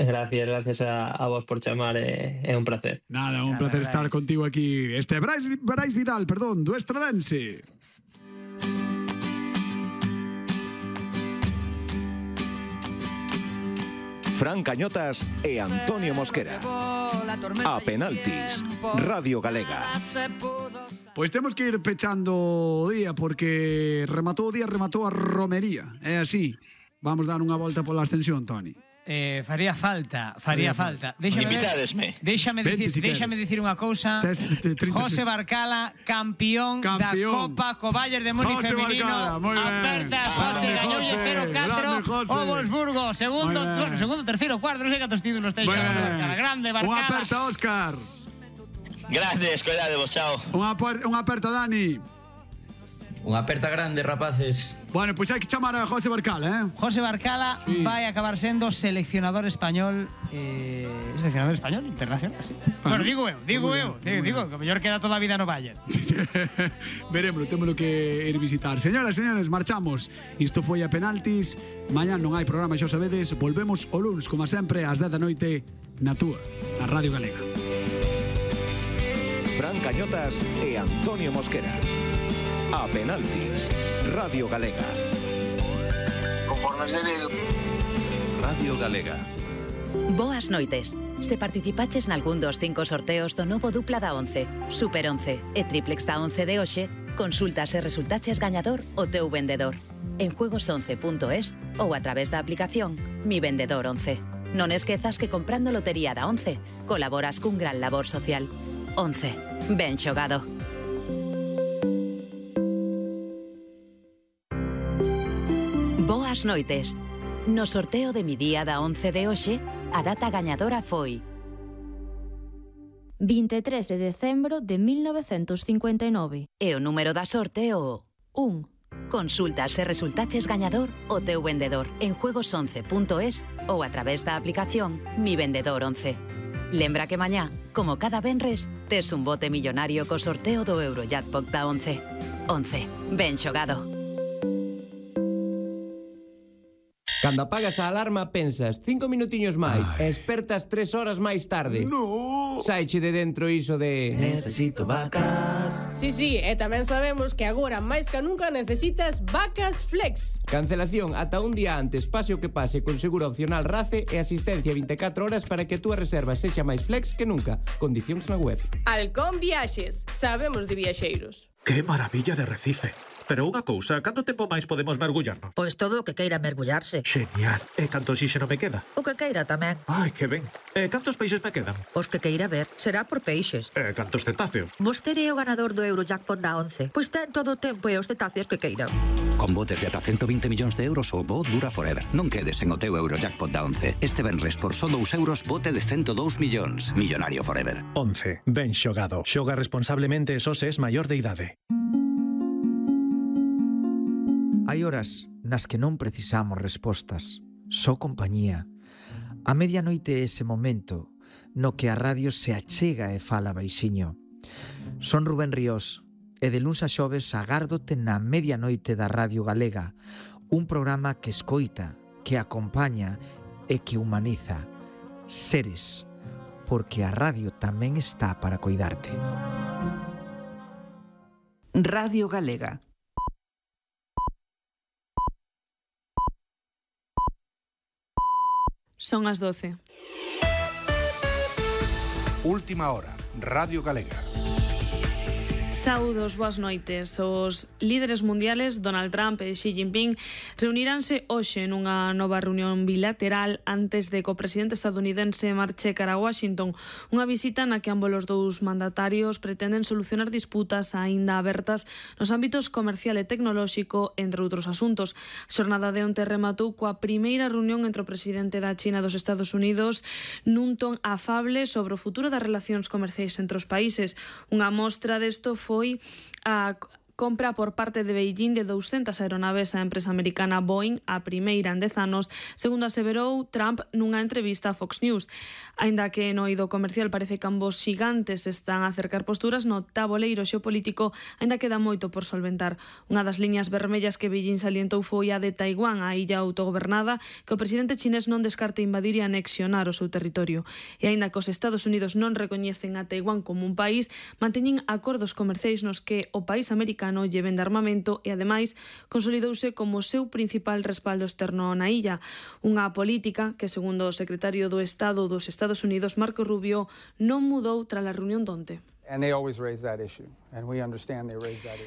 Gracias a vos por chamar, é un placer. Nada, un placer estar contigo aquí. Brais Vidal, perdón, do Estradense. Fran Cañotas e Antonio Mosquera. A penaltis, Radio Galega. Pois temos que ir pechando o día porque rematou a romería. É así. Vamos dar unha volta pola ascensión, Toni. Faría falta. Invitadesme. Déxame dicir unha cousa. José Barcala, campeón da Copa co Bayern de Múnich femenino. Apertas, José, gañoulle 0-4 o Wolfsburgo. Segundo, terceiro, cuarto, non sei cantos títulos ten xa José Barcala. Grande Barcala. Unha aperta, Óscar. Grandes, cuidadevos, chao. Unha aperta, Dani. Unha aperta grande, rapaces. Bueno, pois hai que chamar a José Barcala, José Barcala vai acabar sendo seleccionador español internacional, así. Bueno, digo eu, que o mellor queda toda a vida no Bayern. Veremos, témolo que ir visitar. Señoras e señores, marchamos. Isto foi a penaltis. Mañá non hai programa, xa sabedes. Volvemos o luns, como sempre, ás 10 da noite na túa, na Radio Galega. Fran Cañotas e Antonio Mosquera. A penaltis, Radio Galega. Conformes de Vigo. Radio Galega. Boas noites. Se participaches nalgún dos 5 sorteos do novo dupla da 11, Super 11 e Triplex da 11 de hoxe, consulta se resultaches gañador o teu vendedor en juegos11.es ou a través da aplicación Mi Vendedor 11. Non esquezas que comprando lotería da 11 colaboras cun gran labor social. 11. Ben xogado. Boas noites. No sorteo de Mi Día da 11 de hoxe, a data gañadora foi 23 de decembro de 1959. E o número da sorte o 1. Consulta se resultaches gañador o teu vendedor en juegos11.es ou a través da aplicación Mi Vendedor 11. Lembra que mañá, como cada venres, tes un bote millonario co sorteo do Eurojackpot da 11. 11. Ben xogado. Cando apagas a alarma pensas 5 minutiños máis e espertas 3 horas máis tarde. No. Saiche de dentro iso de necesito vacas. Sí, e tamén sabemos que agora máis que nunca necesitas vacas flex. Cancelación ata un día antes, pase o que pase, con seguro opcional RACE e asistencia 24 horas para que a túa reserva sexa máis flex que nunca. Condicións na web. Halcón Viaxes. Sabemos de viaxeiros. Que maravilla de Recife. Pero unha cousa, canto tempo máis podemos mergullarnos? Pois todo o que queira mergullarse. Genial. E canto oxíxeno me queda? O que queira tamén. Ai, que ben. E cantos peixes me quedan? Os que queira ver. Será por peixes. E cantos cetáceos? Vostede é o ganador do Eurojackpot da 11. Pois ten todo o tempo e os cetáceos que queira. Con botes de ata 120 millóns de euros o bo dura forever. Non quedes en o teu Eurojackpot da 11. Este venres por só 2 euros bote de 102 millóns. Millonario forever. 11. Ben xogado. Xoga responsablemente e só se es maior de idade. Hai horas nas que non precisamos respostas, só compañía. A medianoite é ese momento no que a radio se achega e fala baixiño. Son Rubén Ríos e de luns a xoves agárdote na medianoite da Radio Galega, un programa que escoita, que acompaña e que humaniza. Seres, porque a radio tamén está para coidarte. Radio Galega. Son as 12. Última hora, Radio Galega. Saúdos, boas noites. Os líderes mundiales Donald Trump e Xi Jinping reuniránse hoxe nunha nova reunión bilateral antes de que o presidente estadounidense marche cara a Washington, unha visita na que ambos os dous mandatarios pretenden solucionar disputas aínda abertas nos ámbitos comercial e tecnolóxico, entre outros asuntos. A xornada de onte rematou coa primeira reunión entre o presidente da China e dos Estados Unidos nun ton afable sobre o futuro das relacións comerciais entre os países. Unha mostra desto foi a compra por parte de Beijing de 200 aeronaves á empresa americana Boeing, a primeira en 10 anos, segundo aseverou Trump nunha entrevista a Fox News. Aínda que no eido comercial parece que ambos xigantes están a acercar posturas, no taboleiro xeopolítico aínda queda moito por solventar. Unha das liñas vermellas que Beijing salientou foi a de Taiwán, a illa autogobernada, que o presidente chinés non descarte invadir e anexionar o seu territorio. E aínda que os Estados Unidos non recoñecen a Taiwán como un país, manteñen acordos comerciais nos que o país americano lle vende armamento e, ademais, consolidouse como o seu principal respaldo externo na illa. Unha política que, segundo o secretario do Estado dos Estados Unidos, Marco Rubio, non mudou tras a reunión donte.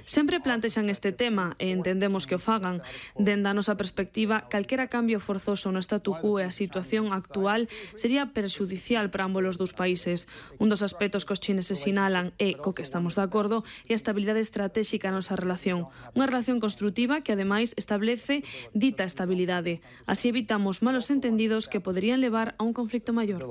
Sempre plantexan este tema e entendemos que o fagan. Dende a nosa perspectiva, calquera cambio forzoso no statu quo e a situación actual sería perxudicial para ambos os dous países. Un dos aspectos que os chineses sinalan e co que estamos de acordo é a estabilidade estratégica na nosa relación. Unha relación construtiva que, ademais, establece dita estabilidade. Así evitamos malos entendidos que poderían levar a un conflicto maior.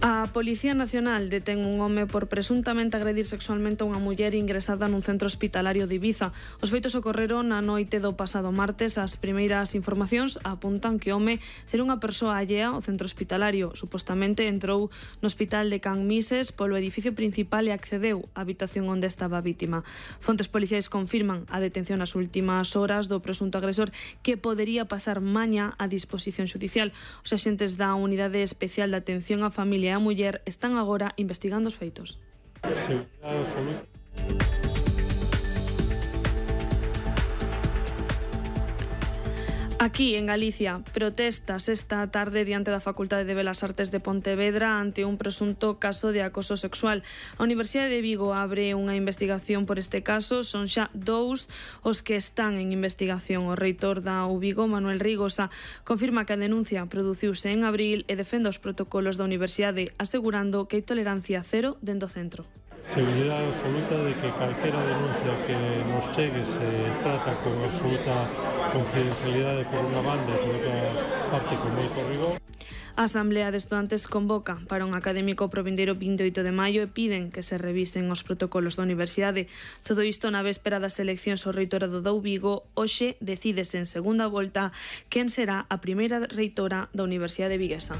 A Policía Nacional detén un home por presuntamente agredir sexualmente a unha muller ingresada nun centro hospitalario de Ibiza. Os feitos ocorreron na noite do pasado martes. As primeiras informacións apuntan que o home será unha persoa allea ao centro hospitalario. Supostamente entrou no hospital de Can Mises polo edificio principal e accedeu á habitación onde estaba a vítima. Fontes policiais confirman a detención nas últimas horas do presunto agresor, que podería pasar mañá a disposición xudicial. Os axentes da Unidade Especial de Atención á Familia e a muller están agora investigando os feitos. Seguridade absoluta. Aquí, en Galicia, protestas esta tarde diante da Facultade de Belas Artes de Pontevedra ante un presunto caso de acoso sexual. A Universidade de Vigo abre unha investigación por este caso. Son xa 2 os que están en investigación. O reitor da UVigo, Manuel Rigosa, confirma que a denuncia produciuse en abril e defende os protocolos da Universidade, asegurando que hai tolerancia cero dentro do centro. Seguridade absoluta de que calquera denuncia que nos chegue se trata con absoluta confidencialidade por unha banda e por outra parte con moito rigor. A Asamblea de Estudantes convoca para un académico pro vindeiro 28 de maio e piden que se revisen os protocolos da Universidade. Todo isto na véspera das eleccións ao reitorado da UVigo. Hoxe decídese en segunda volta quen será a primeira reitora da Universidade Viguesa.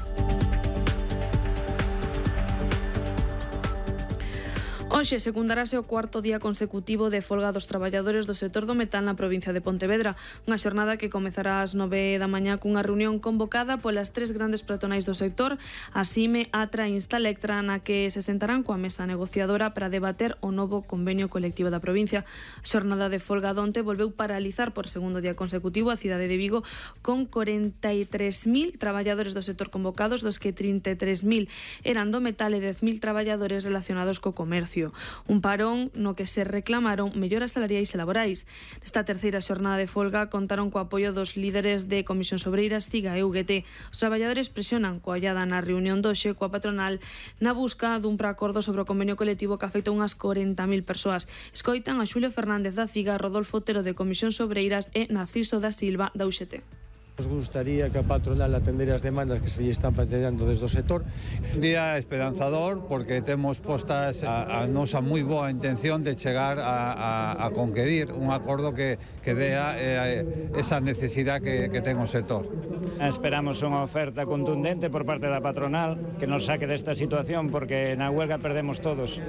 Hoxe secundarase o cuarto día consecutivo de folga dos traballadores do sector do metal na provincia de Pontevedra, unha xornada que comezará ás 9 da mañá cunha reunión convocada polas 3 grandes patronais do sector, a CIME, Atra e Instalectra, na que se sentarán coa mesa negociadora para debater o novo convenio colectivo da provincia. A xornada de folga donte volveu paralizar por segundo día consecutivo a cidade de Vigo, con 43.000 traballadores do sector convocados, dos que 33.000 eran do metal e 10.000 traballadores relacionados co comercio. Un parón no que se reclamaron melloras salariais e laborais. Nesta terceira xornada de folga contaron co apoio dos líderes de Comisións Obreiras, CIGA e UGT. Os traballadores presionan coa allada na reunión doxe coa patronal na busca dun preacordo sobre o convenio colectivo que afecta unhas 40.000 persoas. Escoitan a Xulio Fernández da CIGA, Rodolfo Otero de Comisións Obreiras e Narciso da Silva da UGT. Nos gustaría que a patronal atendera as demandas que se lle están planteando desde o sector. Un día esperanzador porque temos postas a nosa moi boa intención de chegar a conquerir un acordo que dea esa necesidade que ten o sector. Esperamos unha oferta contundente por parte da patronal que nos saque desta situación porque na huelga perdemos todos.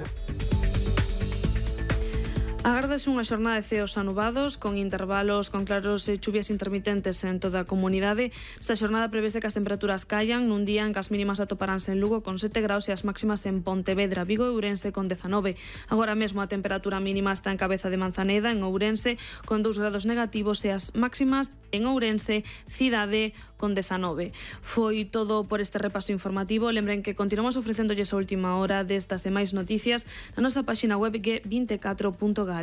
Agárdase unha xornada de ceos anubados con intervalos con claros e chuvias intermitentes en toda a comunidade. Esta xornada prevese que as temperaturas callan nun día en que as mínimas atoparánse en Lugo con 7 graus e as máximas en Pontevedra, Vigo e Ourense con 19. Agora mesmo a temperatura mínima está en Cabeza de Manzaneda, en Ourense, con 2 grados negativos e as máximas en Ourense, Cidade, con 19. Foi todo por este repaso informativo. Lembren que continuamos ofrecéndolles a última hora destas e máis noticias na nosa páxina web g24.gal.